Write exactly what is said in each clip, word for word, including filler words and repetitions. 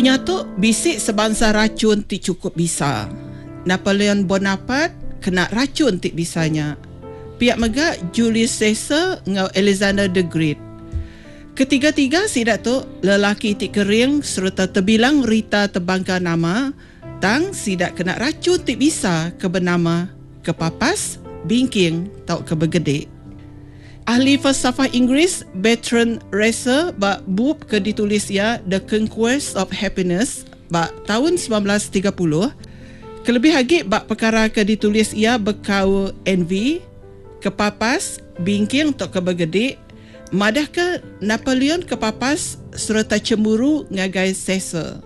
dunya tu bisi sebansa rachun ti chukup bisa. Napoleon Bonaparte kena rachun ti bisa nya. Pia mega Julius Caesar enggau Alexander the Great. Ketiga-tiga sida tu lelaki ti kering sereta tebilang rita tebangkar nama, tang sida kena rachun ti bisa ke benama kepapas, bingking tauka begedi. Ahli falsafah Inggeris Bertrand Russell ba bup ke ditulis iya The Conquest of Happiness ba taun semilan belas tiga puluh, kelebih agi ba pekara ke ditulis iya bekaul envy, kepapas, bingking tauka begedi, madahka Napoleon kepapas sereta cemburu ngagai Caesar.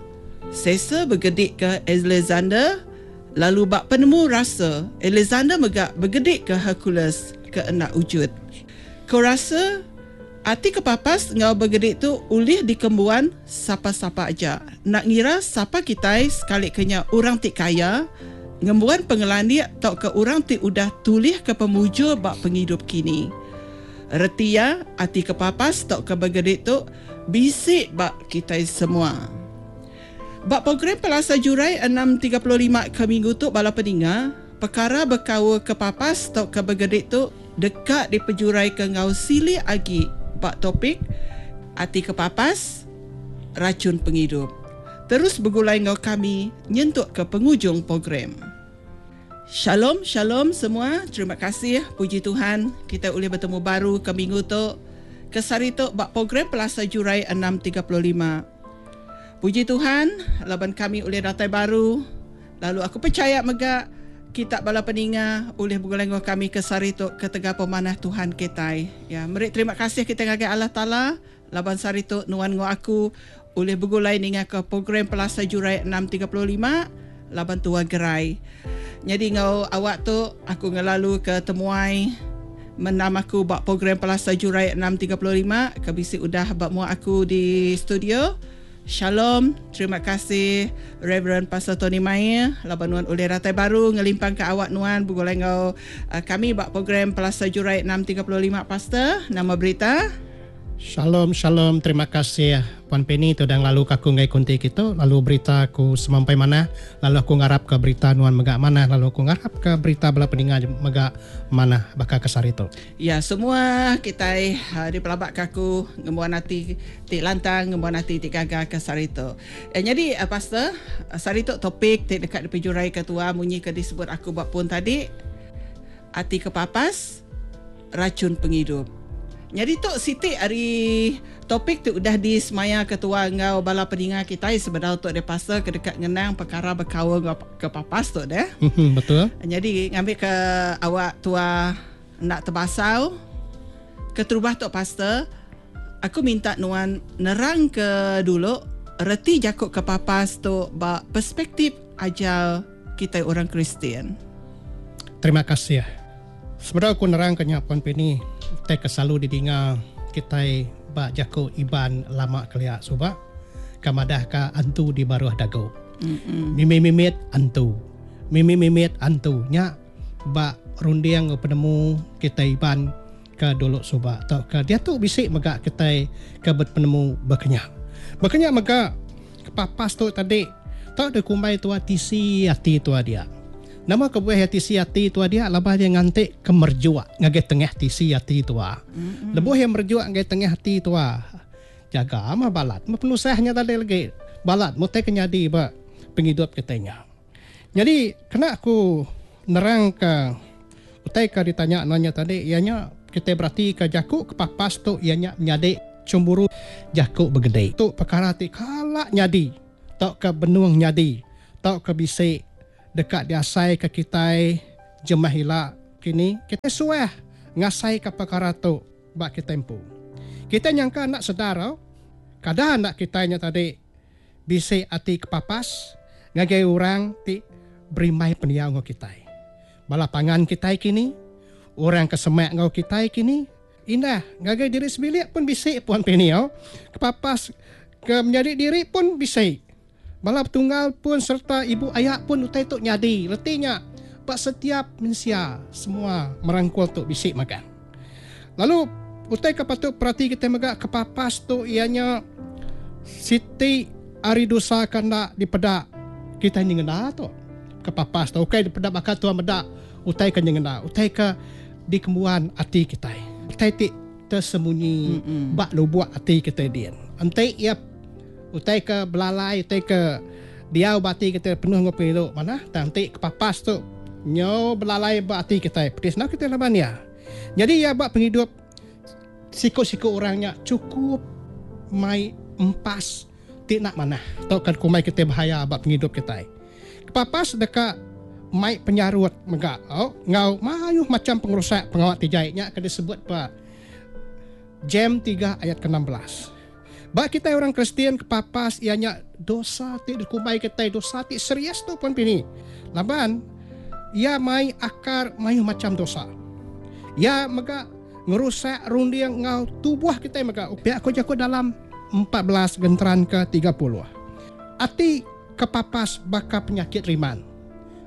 Caesar begedi ke Alexander, lalu ba penemu Russell, Alexander mega begedi ke Hercules ke enda wujud. Ko Russell, ati kepapas enggau begedi tu ulih dikembuan sapa-sapa aja. Nak ngira sapa kitai sekali kenya orang ti kaya, ngembuan pengelandik tauka orang ti udah tulih ke pemujur ba pengidup kini. Reti iya, ati kepapas tauka begedi tu bisi ba kitai semua. Ba program Pelasar Jurai enam tiga puluh lima ke minggu tu bala peninga, perkara bekaul kepapas tauka begedi tu deka dipejurai ke ngau silik agi ba topik ati kepapas, racun pengidup. Terus begulai ngau kami nyentuk ke penghujung program. Shalom, shalom semua. Terima kasih, puji Tuhan kita boleh bertemu baru ke minggu tu. Ke sehari tu ba program Pelasar Jurai enam tiga puluh lima. Puji Tuhan laban kami boleh datai baru. Lalu aku percaya mega kita bala peninga boleh begulai dengan kami ke sehari tu ke tegap pemanah Tuhan kita. Ya, meri terima kasih kita ngagai Allah Taala laban sehari tu nuan ngau aku boleh begulai ninga ke program Pelasar Jurai enam tiga puluh lima laban Tuhan gerai. Jadi ngau awak tu aku ngelalu ke temuai menam aku bak program Pelasar Jurai enam tiga puluh lima ke bisi udah bak mua aku di studio. Shalom, terima kasih Reverend Pastor Tony Mair laban nuan ulih datai baru ngelimpang ke awak nuan begulai ngau uh, kami bak program Pelasar Jurai enam tiga puluh lima Pastor. Nama berita? Shalom, shalom, terima kasih Puan Penny tu dah lalu aku ngai kunti kita, lalu berita aku semampai mana, lalu aku ngarap ke berita nuan megak mana, lalu aku ngarap ke berita bala peninga megak mana bakal kesari tu. Ya, semua kita uh, di pelabak aku ngembuan hati ti lantang, ngembuan hati ti gagah ke sari tu. Eh, jadi uh, Pastor, uh, sari tu topik ti dekat dipejurai ke tua munyi ke disebut aku buat pun tadi, ati kepapas, racun penghidup. Jadi tu Siti hari topik tu udah disemaya ketua ngau bala peninga kita sebenar tu dia pasal ke dekat ngenang perkara berkaul ngau kepapas tu deh. Betul. Jadi ngambil ke awak tua nak terbasau keterubah tu pastor, aku minta nuan nerang ke dulu reti jakuk kepapas tu ba perspektif ajar kita orang Kristian. Terima kasih. Sebenarnya aku nerang ke nya Puan Penny tek selalu didinga kita ba jaku Iban lama kelia suba kamadah ka antu di baruh dagu. Mimi-mimit antu. Mimi-mimit antu nya ba runding penemu kita Iban ke dulu suba tau ke dia tu bisi mega kita ke berpenemu berkenyak. Berkenyak mega kepapas tu tadi tau de kumbai tua tisi ati tua dia. Nama kebuah tisi ati tua dia labah dia ngantik ke merjuak ngagai tengah tisi ati tua. Mm-hmm. Lebuh yang merjuak ngagai tengah hati tua. Jaga mah balat, mah penusahnya tadi lagi. Balat mutai kenyadi ba penghidup kitanya. Jadi kena aku nerang ke utai ke ditanya nanya tadi ianya kita berarti ke jaku kepapas tu ianya menjadi cemburu jaku begede. Tu perkara ti kalak nyadi, tau ke benuang nyadi, tau ke bisi dekat diasai ke kitai jemah ila kini kita suah ngasai ke perkara tu ba kita empu. Kita nyangka nak sedar tau, kada anak kita nya tadi bisi ati kepapas ngagai orang ti berimai peniau ngau kitai. Bala pangan kitai kini, orang ke semak ngau kitai kini, indah ngagai diri sebilik pun bisi puan peniau, kepapas ke menjadi diri pun bisi. Bala tunggal pun serta ibu ayah pun utai tu nyadi. Retinya pak setiap manusia semua merangkul tu bisi makan. Lalu utai ke patut perhati kita mega kepapas tu ianya siti ari dosa kena dipedak kita nyengena tu. Kepapas tu ukai dipedak baka tua medak utai ke nyengena, utai ke dikembuan ati kita. Utai ti tersembunyi bak lubuk ati kita dian. Enti ia utai ke belalai, utai ke diau bati kita penuh dengan pengilu mana tang ti kepapas tu nyo belalai ba ati kita. Pedis nak kita laban ya. Jadi ya bak penghidup siku-siku orangnya cukup mai empas ti nak mana tau kan kumai kita bahaya bak penghidup kita. Kepapas deka mai penyarut mega oh, ngau mayuh macam pengerusak pengawak tijaiknya ke disebut pak Jam tiga ayat ke enam belas. Bak kita orang Kristian kepapas ianya dosa ti dikumai kita dosa ti serius tu pun pini. Laban ia mai akar mayuh macam dosa. Ia mega ngerusak runding ngau tubuh kita mega. Pihak aku jaku dalam empat belas genteran ke tiga puluh. Ati kepapas baka penyakit riman,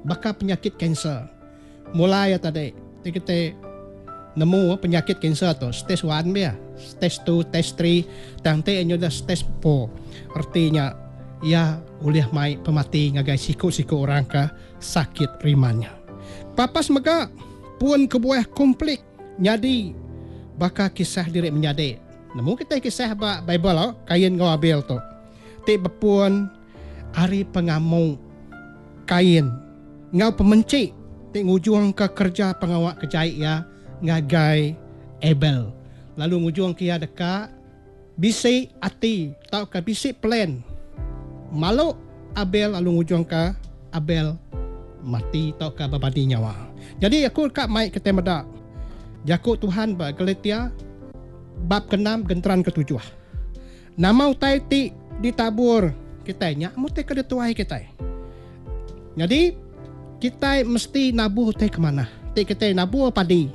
baka penyakit kanser. Mulai ya tadi kita nemu penyakit kanser tu stage one dia, stage two, stage three, tang te nyu dah stage four. Artinya ia ulih mai pemati ngagai siku-siku orang ke sakit rimannya. Papas mega pun kebuah konflik nyadi baka kisah diri menyadi. Nemu kita kisah ba Bible oh, Kain ngau Abel tu. Ti bepun ari pengamu Kain ngau pemenci ti ngujung ke kerja pengawak kejai ya ngagai Abel. Lalu ngujung ke ia deka bisi ati tau ke bisi plan malu Abel lalu ngujung ke Abel mati tau ke berbadi nyawa. Jadi aku kak mai ke tema Jaku Tuhan ba Galatia bab keenam genteran ketujuh. Nama utai ti ditabur kita nya mesti ke dituai kita. Jadi kita mesti nabuh utai ke mana? Ti kita nabuh padi,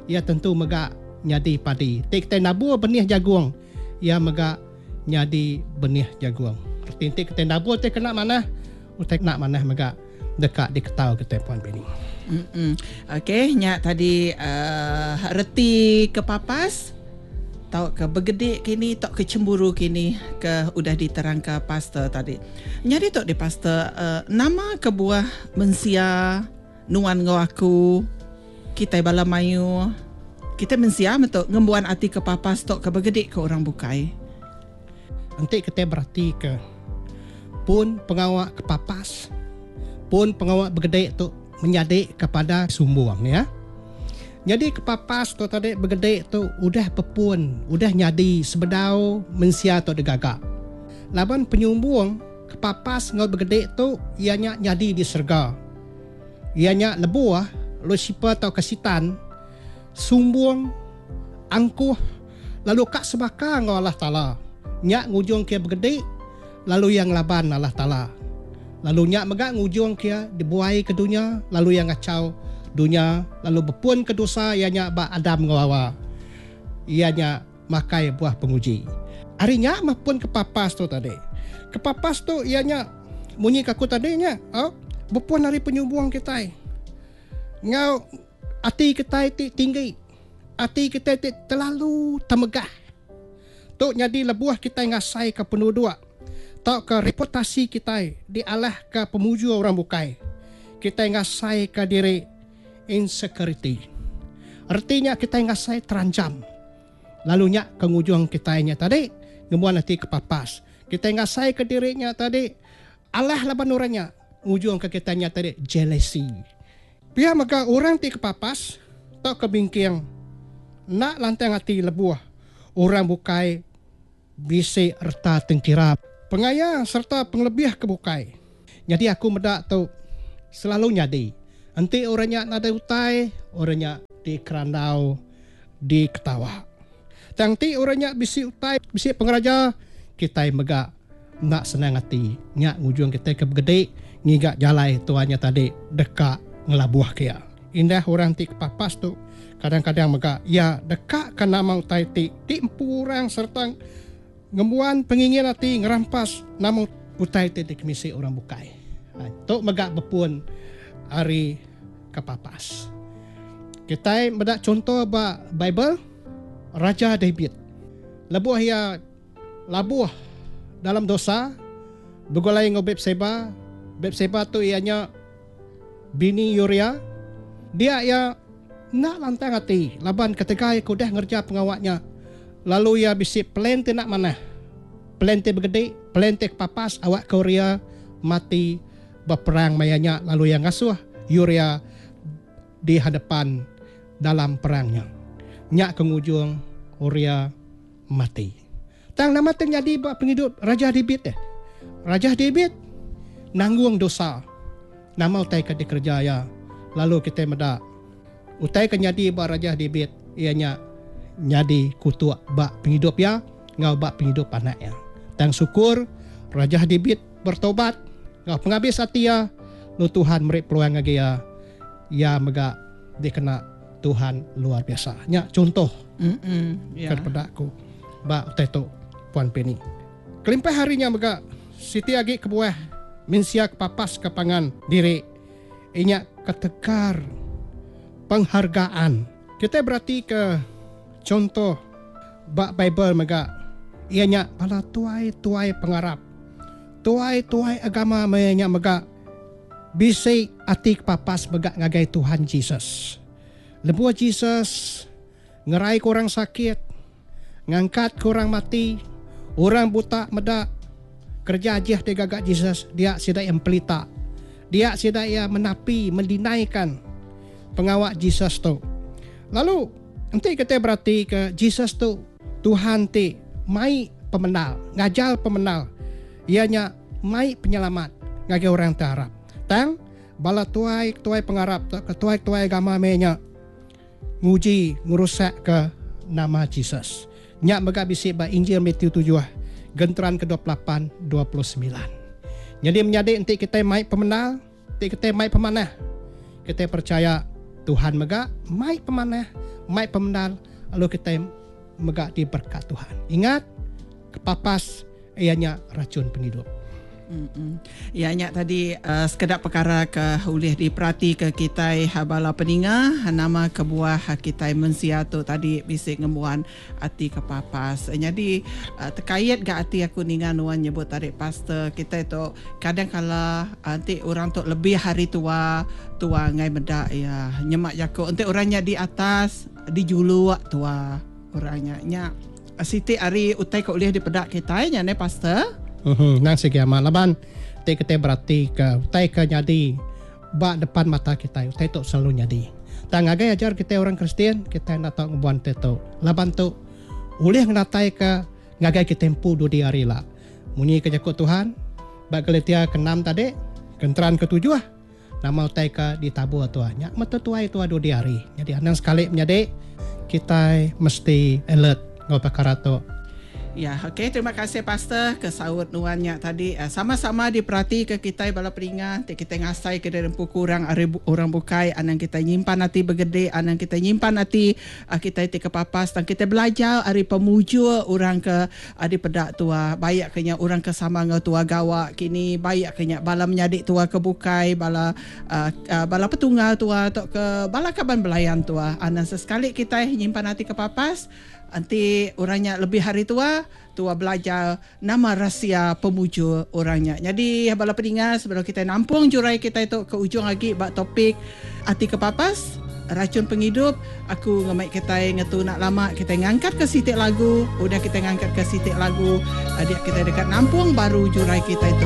ia tentu mega nyadi padi. Ti kita nabuh benih jagung, ia mega nyadi benih jagung. Ti kita nabuh utai kena mana? Utai kena mana mega dekat diketau kita puan bini. Mm-mm. Okey, nya tadi uh, reti kepapas tau ke bergedik kini tau ke cemburu kini ke udah diterangka pastor tadi. Nyadi tok di pastor uh, nama kebuah mensia nuan ngau aku kita bala mayu kita mensia metok ngembuan ati kepapas tok ke bergedik ke orang bukai. Enti kita berarti ke pun pengawak kepapas pun pengawak bergedik tu menjadi kepada sumbung ya. Jadi kepapas tu tadi bergedik tu udah pepun, udah nyadi sebedau mensia tu degagak. Laban penyumbung kepapas ngau bergedik tu ianya nyadi di serga. Ianya lebuah Lucifer atau kesitan sumbung angkuh lalu kak sebaka ngau Allah Taala. Nyak ngujung kia bergedik lalu yang laban Allah Taala. Lalu nyak megak ngujung kia dibuai ke dunia lalu yang ngacau dunia lalu berpun ke dosa ianya ba Adam ngau Hawa. Ianya makai buah penguji. Hari nyak mah pun kepapas tu tadi. Kepapas tu ianya munyi kaku tadi nya, oh, berpun hari penyumbung kita. Ngau ati kita ti tinggi. Ati kita ti terlalu temegah. Tu nyadi lebuh kita ngasai ke penduduk. Tau ke reputasi kita dialah ke pemuju orang bukai. Kita ngasai ke diri insecurity. Artinya kita ngasai terancam. Lalu nyak ke ngujung kita nya tadi ngembuan hati kepapas. Kita ngasai ke dirinya tadi alah laban orangnya ngujung ke kita nya tadi jealousy. Pihak maka orang ti kepapas tau ke bingking nak lantang hati lebuh orang bukai bisi erta tengkira pengaya serta pengelebih ke bukai. Jadi aku medak tu selalu nyadi. Enti orangnya nadai utai, orangnya di kerandau, di ketawa. Tang ti orangnya bisi utai, bisi pengeraja, kita mega nak senang hati. Nyak ngujung kita ke bergedik, ngigak jalai tuannya tadi dekat ngelabuh kia. Indah orang ti kepapas tu kadang-kadang mega ya dekat kena nama utai ti ti empu orang serta ngembuan pengingin hati ngerampas nama utai ti dikemisi orang bukai. Ha, tu mega berpun hari kepapas. Kita medak contoh ba Bible Raja David. Lebuh ia labuh dalam dosa begulai enggau Betseba. Betseba tu ianya bini Uria. Dia iya enda lantang ati laban ketegal iya ke udah ngereja pengawa nya lalu iya bisi plan ti enda manah. Plan ti begedi, plan ti kepapas awakka Uria mati beperang maya nya lalu iya ngasuh Uria di hadapan dalam perang nya. Nya ke ngujung Uria mati. Tang nama ti nyadi ba pengidup Raja David deh? Raja David nanggung dosa nama utai ke dikereja iya lalu kitai meda utai ke nyadi ba Raja David iya nya nyadi kutuk ba pengidup iya enggau ba pengidup anak iya. Tang syukur Raja David bertobat enggau pengabis ati iya lalu Tuhan meri peluang ngagai iya, iya mega dikena Tuhan luar biasa. Nya chuntoh mm ke peda aku ba utai tu Puan Penny. Kelimpah hari nya mega siti agi kebuah mensia kepapas ke pangan diri inya ketegar penghargaan. Kita berati ke contoh ba Bible mega iya nya bala tuai-tuai pengarap. Tuai-tuai agama maya nya mega bisi ati kepapas mega ngagai Tuhan Jesus. Lebuh Jesus ngerai ke orang sakit, ngangkat ke orang mati, orang buta meda kerja ajih digaga Jesus, dia sida yang pelita. Dia sida ia menapi, mendinaikan pengawa Jesus tu. Lalu enti kita berati ke Jesus tu Tuhan ti mai pemenal, ngajal pemenal. Ia nya mai penyelamat ngagai orang ti arap. Tang bala tuai-tuai pengarap tu, ketuai-tuai agama nya nguji ngerusak ke nama Jesus. Nya mega bisi ba Injil Matthew tujuh genteran ke dua puluh lapan dua puluh semilan. Jadi menyadi enti kita mai pemenal, enti kita mai pemanah, kita percaya Tuhan mega mai pemanah, mai pemenal, lalu kita mega diberkat Tuhan. Ingat, kepapas ianya racun penghidup. Mm-mm. Ya nya tadi uh, sekedar perkara ke ulih diperhati ke kita bala peninga nama kebuah kita mensia tu tadi bisi ngembuan ati kepapas. Jadi uh, terkait gak ati aku ninga nuan nyebut tadi pastor kita tu kadang kala nanti uh, orang tu lebih hari tua tua ngai meda ya nyemak jako enti orangnya di atas dijuluk tua orangnya nya siti hari utai ke ulih dipedak kita nya ne pastor. Mhm, nang sigi amat laban ti kita berati ke utai ke nyadi ba depan mata kita utai tu selalu nyadi. Tang ngagai ajar kita orang Kristian kita enda tau ngebuan te tu. Laban tu ulih ngenatai ke ngagai kita empu dudi hari la. Munyi ke jaku Tuhan ba Galatia ke enam tadi genteran ke tujuh nama utai ke ditabur tua nya metu tuai tua dudi hari. Jadi anang sekali menyadi kita mesti alert ngau perkara tu. Ya, okey, terima kasih pastor ke saut nuannya tadi. Sama-sama diperhati ke kita bala peringat, kita ngasai ke dalam kurang orang bukai, anang kita nyimpan hati bergede, anang kita nyimpan hati kita ti kepapas, dan kita belajar ari pemujur orang ke adi pedak tua, baik kenya orang ke sama ngau tua gawak kini, baik kenya bala menyadik tua ke bukai, bala uh, uh, bala petunggal tua atau ke bala kaban belayan tua. Anang sesekali kita nyimpan hati kepapas. Nanti orangnya lebih hari tua, tua belajar nama rahsia pemujur orangnya. Jadi bala peninga sebelum kita nampung jurai kita itu ke ujung lagi bak topik ati kepapas, racun penghidup, aku ngemai kita ngetu nak lama kita ngangkat ke sitik lagu, udah kita ngangkat ke sitik lagu, adik kita dekat nampung baru jurai kita itu.